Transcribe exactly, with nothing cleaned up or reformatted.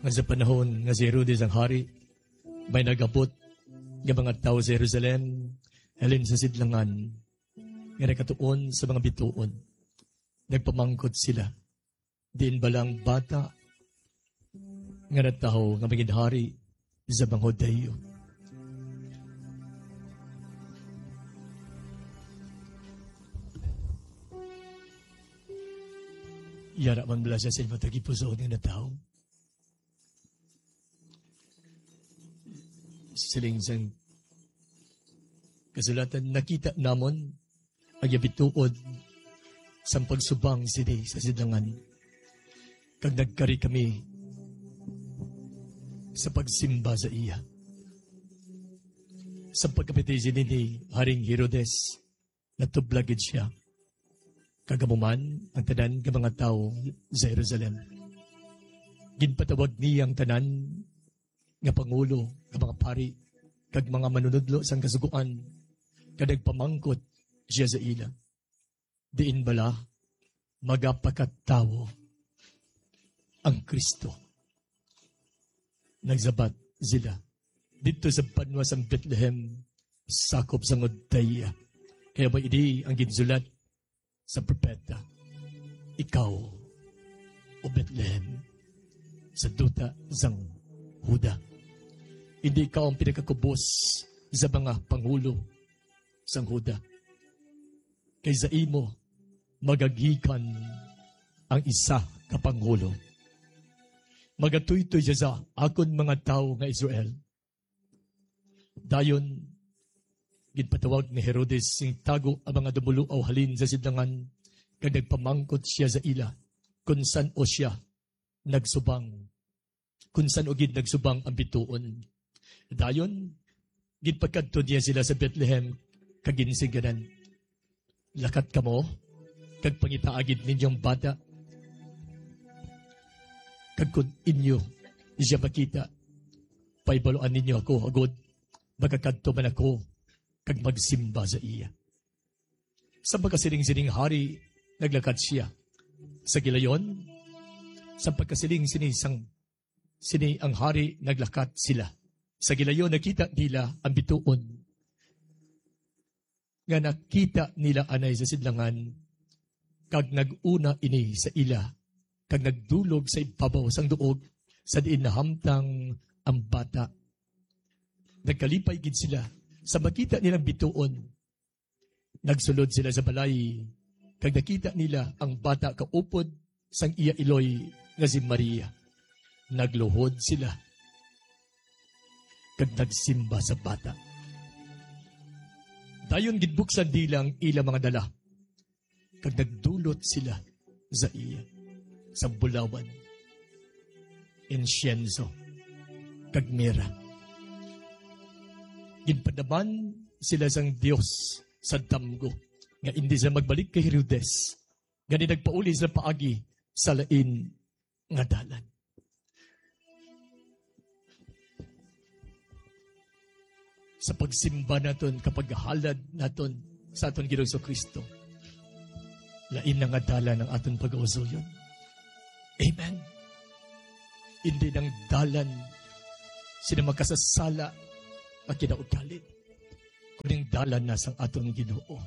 Nga sa panahon nga si Herodes ang hari, may nagabot nga mga tawo sa Jerusalem halin sa sidlangan nga nakatuon sa mga bituon. Nagpamangkot sila, "Diin bala ang bata nga natawo nga magin hari sa mga Judio?" Yara man bala siya sa inyo tagipusoon nga natawo? Siling sang kasulatan, nakita namon ang iya bituon sang pagsubang sini sa sidlangan, kag nagkari kami sa pagsimba sa iya. Sa pagkapati sini ni Haring Herodes, natublag gid sia, kag amo man ang tanan nga mga tawo sa Jerusalem. Ginpatawag niya ang tanan nga pangulo nga mga pari kag mga manunodlo sang Kasugoan, kag nagpamangkot sia sa ila, "Diin bala magapakatawo ang Cristo?" Nagsabat sila, "Didto sa banwa sang Betlehem, sakop sang Judea, kay amo ini ang ginsulat sa propeta, 'Ikaw, O Betlehem, sa duta sang Juda, indi ikaw ang pinakakubos sa mga pangulo sang Juda, kay sa imo magagikan ang isa ka pangulo. Magatuytoy sia sa akon mga tawo nga Israel.'" Dayon, ginpatawag ni Herodes sing tago ang mga dumuluaw halin sa sidlangan, kag nagpamangkot sia sa ila kon san-o sia nagsubang, kon san-o gid nagsubang ang bituon. Dayon, ginpakadto niya sila sa Betlehem, kag ginsingganan, "Lakat kamo, kag pangitaa gid ninyo ang bata. Kag kon inyo sia makita, pahibaluan ninyo ako, agod makakadto man ako kag magsimba sa iya." Sa pagkasiling sining hari, naglakat sia. Sa gilayon, sa pagkasiling sini sang, sini ang hari, naglakat sila. Sa gilayon, nakita nila ang bituon nga nakita nila anay sa sidlangan, kag nag-una ini sa ila, kag nagdulog sa ibabaw sang duog sa diin nahamtang ang bata. Nagkalipay gid sila sa makita nilang bituon. Nagsulod sila sa balay, kag nakita nila ang bata kaupod sang iya iloy nga si Maria. Nagluhod sila kag nagsimba sa bata. Dayon ginbuksan nila ang ila mga dala, kag nagdulot sila sa iya sang bulawan, insyenso, kag mira. Ginpadaman sila sang Dios sa damgo, nga indi sila magbalik kay Herodes, gani nagpauli sila paagi sa lain nga dalan. Sa pagsimba naton, kapaghalad naton sa aton Ginoong Kristo, lain na nga dalan ang aton pagausuyon. Amen. Indi nang dalan sina makasasala nga kinaugali, kuning dalan na sang aton Ginoo.